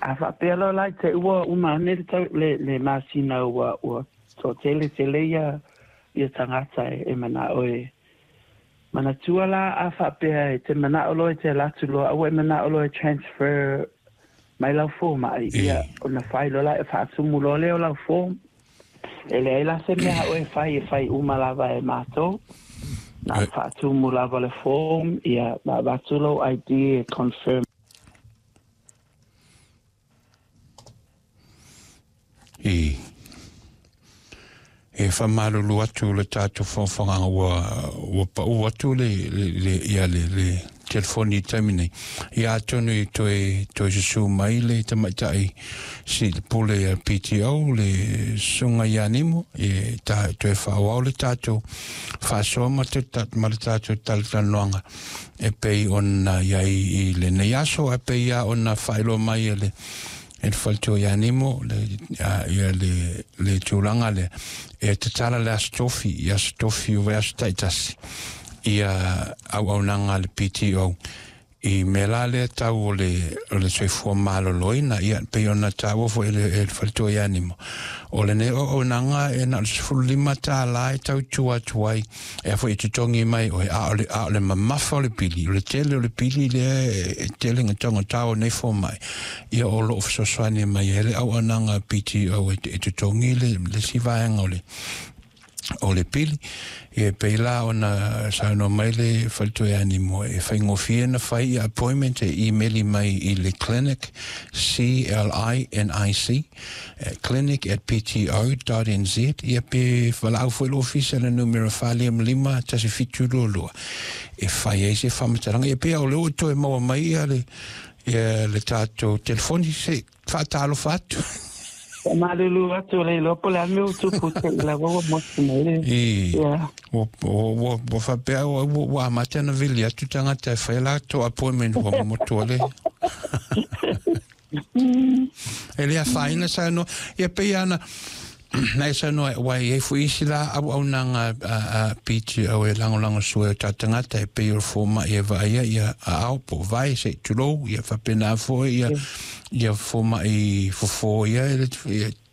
A faapea loa la i te ua uma ane le tau, le, le masina ua, ua toatele tele ia, ia tagata e, e manao e manatua la a faapea e te manao loa e te alu atu loa, aua e manao loa e transfer mai lau fomai, ia ona fai loa la e faatumu loa lea o lau form. E leai la se mea a oe e fai, e fai uma lava e matou. Na o le faatumu lava le form, ia ma avatu lou ID e confirm. I e faamalulu atu le tatou faafogaga ua ua pau atu le le ia le le telefoni i taimi nei. Ia atonu i toe toe susu mai le tamaitai si le pule a PTO le susuga ia Nimo e ta toe faaauau le tatou faasoa ma te ma le tatou talatalanoaga e pei ona i ai i lenei aso ae pei lava ona faailoa mai e le e le faletua ia Nimo le, ia le, le tulaga lea e tatala le Aso Tofi i Aso Tofi o vaiaso taitasi ia auaunaga a le PTO i mea la lea tau o le, o le soifua maloloina ia pei ona taua foi e le, e le faletua ia Nimo o lenei auaunaga e na o le $15 e tautua atu ai e a foi e totogi mai oe, a o le, a o le mamafa o le pili, o le tele o le pili lea e tele na taugata o nei fomai, ia o loo fesoasoani mai ai le auaunaga PTO e, e totogi le, le isi vaega o le, o le pili. Ia e pei la ona saunoa mai le faletua ia Nimo e faigofie na fai ia appointment e email mai i le clinic, C-L-I-N-I-C, clinic@pto.nz ia pe valaau foi le ofisa i le numera 455 1722 e fai ai se faamatalaga. Ia pei o lea ua toe maua mai ia le, ia le tatou telefoni se faatalofa atu. Faamalulu atu le iloa po o le a le mea ua tupu te i lava ua motu mai le. I, ua, ua, ua faapea ua, ua amata ona vili atu tagata e fai latou appointment ua motu le. E le afaina saunoa. Ia pei ana na e saunoa ua i ai foi isi la auaunaga a PTO e lagolago sua e o tatou tagata e pei o le fomai e vaaia ia aao po o vae se i tulou ia faapena foi ia ia fomai fofo ia e le,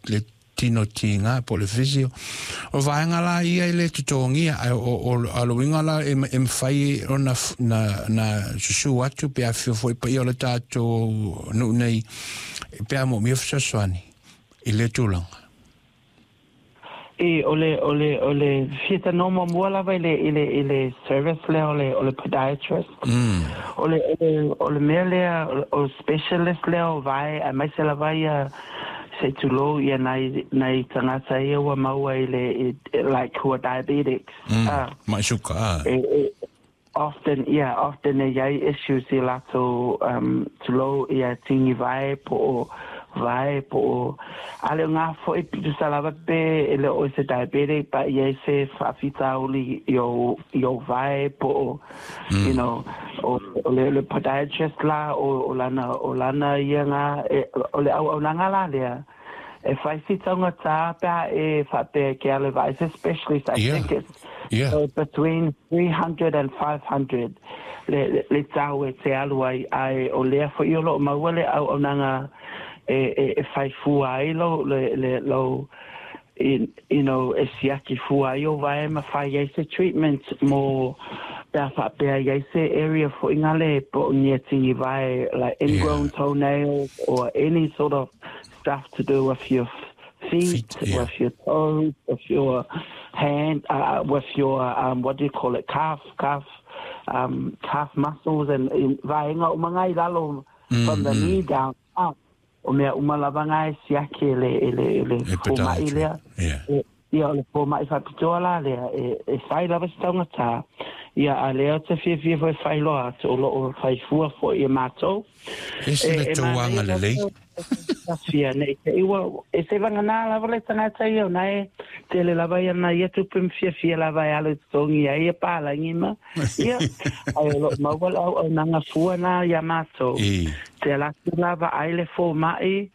le tino tiga po o le physio. O vaega la ia e le totogia, ae o, o, o le uiga la e, e mafai ona na, na susu atu pe afifio foi paia o le tatou nuu nei pe a moomia fesoasoani i lea tulaga. E, o le, o le, o le fia tanoa muamua lava i le, i le, i le service lea o le, o le podiatrist. O le, o le, o le mea lea, o specialist lea o vae, aemaise lava ia se i tulou ia nai, nai tagata ia ua maua i le, i, like who are diabetics. Ah. Mai suka, ah. E, e, often, yeah, often e iai issues i latou um, tulou ia tini vae po o vae po o ale o ngā foi tusa lava pe e le o se diabetic but iai se faafitauli i o, i o vae po o you know o, o le, le podiatrist la o, o lana o lana ia ngā e, o le auaunaga la lea e fai si taugata pe a e faapea ke alu vae se specialist I think it's so between 300 and 500 le, le, le tau e te alu ai ae o lea foi o loo maua le auaunaga e, e, e fai fua ai lo, le, le, lo you know, e siaki fua ai o vae ma fai ai se treatment mo pe a faapea i ai se area foi ngale po o nia tingi vae like ingrown toenails or any sort of stuff to do with your feet, Feet, yeah. with your toes, with your hand, with your, what do you call it, calf, calf, calf muscles and vaenga uma ngai lalo from the knee down up. O mea uma lava ngā e siaki e le, e le, e le E fōmaʻi podiatry, lea. yeah. E, ia, o le fōmaʻi faapitoa la lea, e, e fai lava se taugata. Ia, a lea ou te fiafia foi e faailoa atu, o loo fai fua foi e mātou. Ese E, le e tou manaia agalelei. lava fia nei te iwa, e se vagana lava le tagata ia, ona e tele lava ia na ia tupe ma fiafia lava e alu i totogi ai ia palagi ma, ia, ae o loo maua le auaunaga fua na ia mātou. I. Te ala atu la vaai le fomai,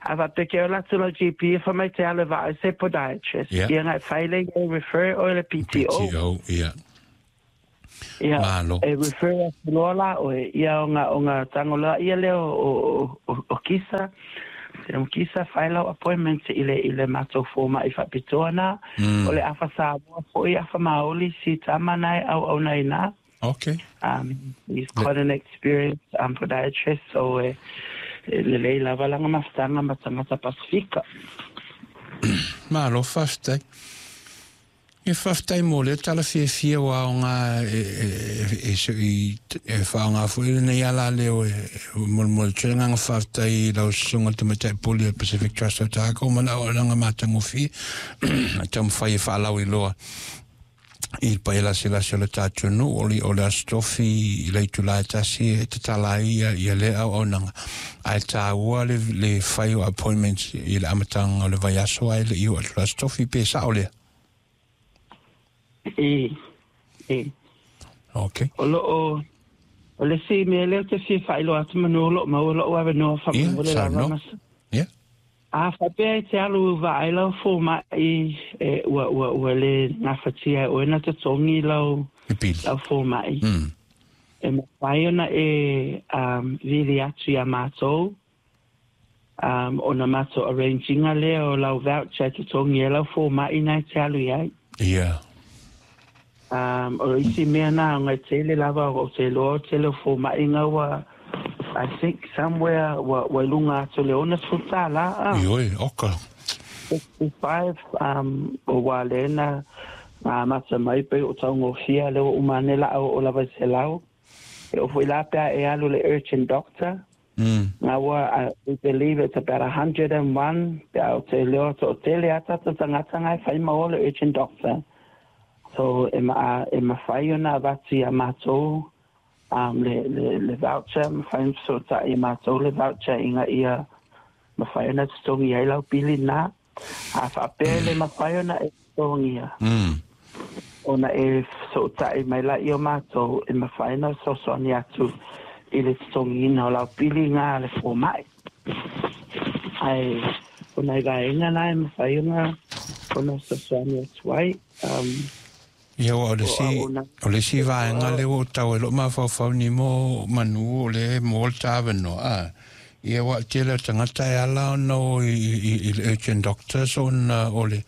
a faapea ke ola atu lau GP e fai mai te alu e vaai se podiatrist. Yeah. Ia ngai fai le ia refer oe le PTO. PTO, ia. Ia, Malo. E refer atu loa la oe, ia o nga tago loa ia lea o Kisa. O Kisa fai lau appointment i le matou fomaʻi faapitoa na. O le afa Samoa foʻi, afa Maoli, si tama na e auauna i na. He's quite an experienced podiatrist, so e lelei lava laga mafutaga ma tagata Pasifika. Malo, faafetai. E faafetai mo lea tala fiafia ua aoga e e e faaaoga foʻi lenei ala leo e molemole tele agaga faafetai i lau susuga tamaitai pule o Pacific Trust Otago ma le auaunaga matagofie taumafai e faalauiloa i le paia lasilasi o le tatou nuu o le Aso Tofi i le itulā e 1 e tatala ai ia lea auaunaga ae taua le fai o appointments i le amataga o le vaiaso ae leʻi oo atu le Aso Tofi pe sao lea. E. Okay. O loo o le isi mea lea te fia faailoa atu manu o loo maua loʻu avanoa faamolemole lava ma. A faapea e te alu vaai lau fomaʻi e ua le gafatia e oe na totogi lau Le pili. lau fomaʻi. E mafai ona e vili atu iā matou ona matou arrange ina lea o lau voucher e totogi ai lau fomaʻi na e te alu i ai. O isi mea na ona e tele lava o te iloa o tele o fomaʻi ua I think somewhere ua i luga atu le $60 a. Ioe, oka. 65 o ua lena ngā mata mai pe o taugofia le ua uma ane la o lava i 100. E o foi la pea e alu le urgent doctor. Ngā ua, we believe it's about 101 pe au te leo to o tele ata ta tangata ngai whai ma o le urgent doctor. So e mawhai ona avatu ia mātou le voucher, mawhai so ta i mātou le voucher inga ia mawhai ona totogi ai lau pili na. A whaapea le mawhai ona e totogia. Ona e soʻotaʻi mai la i o matou e mafai ona fesoasoani atu i le totogiina o lau piliga a le fomaʻi ae ona i vaega na e mafai ona fesoasoani atu ai Ia ua o le o si auauna o le isi vaega le ua tau e loo mafaufau ni mo manu o le mo le tāvanoa a. Ia ua tele o tagata e ala ona o i le urgent doctors ona o le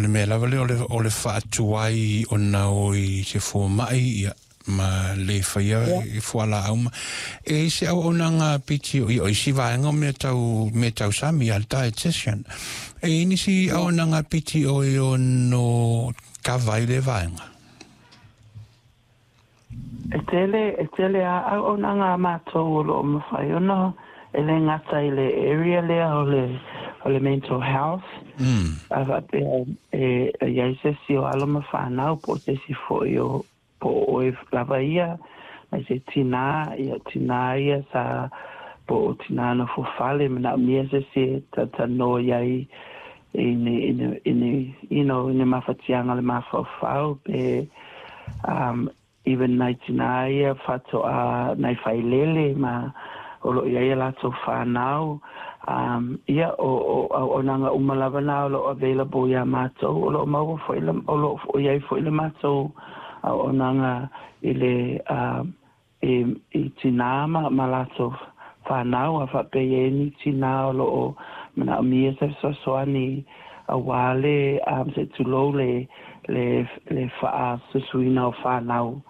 mea lava lea o le faatuai ona o i se fomaʻi ia ma le faia i fualaau ma e i se auaunaga piti o isi vaega o mea tau sami a le dietitian e i nisi auaunaga piti o i ono kava i le vaega. E tele a auaunaga a matou o loo mafai ona e le gata i le area lea o le mental health. A faapea e iai se isi o alo ma fanau po o se isi foʻi o po o oe lava ia mai se tinā ia tinā ia sa po o tinā na fofale manaʻomia se isi e tatanoa iai i ni i ni mafatiaga le mafaufau pe even nai tinā ia faatoa nai failele ma o loo iai a latou fanau ia o auaunaga uma lava na o loo available iā matou o loo maua foʻi o loo iai foʻi le matou auaunaga i le i tinā ma latou fanau a faapea iai ni tinā o loo manaʻomia se fesoasoani auā le se tulou le faasusuina o fanau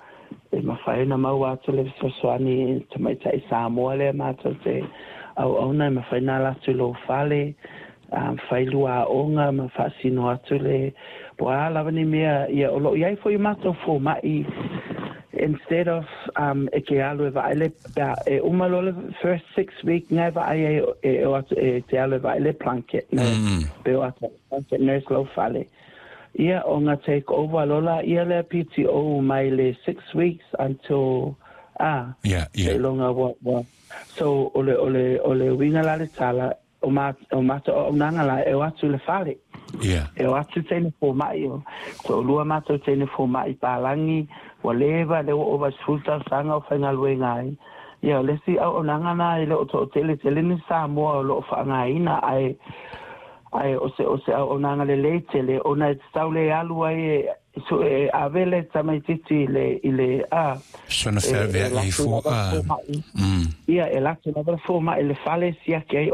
e mafai ona maua atu le fesoasoani tamaitaʻi Samoa lea matou te auauna e mafai na ala atu i lou fale fai lua aoga ma faasino atu le po a lava ni mea ia o loo iai foʻi matou fomaʻi instead of e ke alu e vaai le e uma loa le first 6 week ngai vaai ai e o atu e te alu e vaai le Plunket pe o atu Plunket nurse lau fale ia o nga take over lola ia le PTO mai le 6 weeks until seiloga ua so o le uiga la le tala o matou auaunaga la e o atu le fale. E o atu teine fomaʻi o toʻalua matou teine fomaʻi palagi ua leva le ua ova 10 tausaga o faigaluega ai ia o le isi auaunaga na e le o toʻatele tele ni Samoa o loo faaaogāina ae o se auaunaga lelei tele ona e tatau le alu ai e So e ave le tamaititi i le a Sona feavea'i ai fua. Ia, e latou lava le fomai i le fale siaki ai.